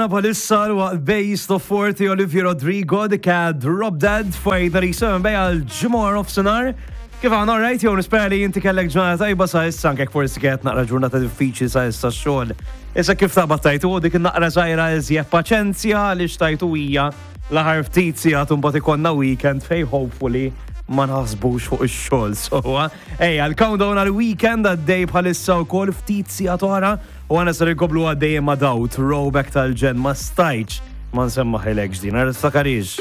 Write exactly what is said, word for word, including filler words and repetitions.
Tagħna bħalissa waqt Base of forty, Olivia Rodrigo, The Cat, Drop Dead, fajda thirty-seven bej għal ġimgħa nofsinhar. Kif għana, right, jew nispera li inti kellek ġurnata tajba sa issa, anke forsi kienet naqra ġurnata diffiċli sa issa xogħol. Issa kif taqbad tajtu dik naqra żgħira iżjed paċenzja li xtajtu hija l-aħħar ftit sigħat, mbagħad ikollna weekend fej hopefully ma naħsbux fuq ix-xogħol. So, ejja, l-countdown għal weekend għaddej bħalissa wkoll, ftit sigħat oħra u għana ser ikomplu għaddej ma' daw throwback tal-ġenn, ma stajtx ma nsemmaħilekx din, għar takarix.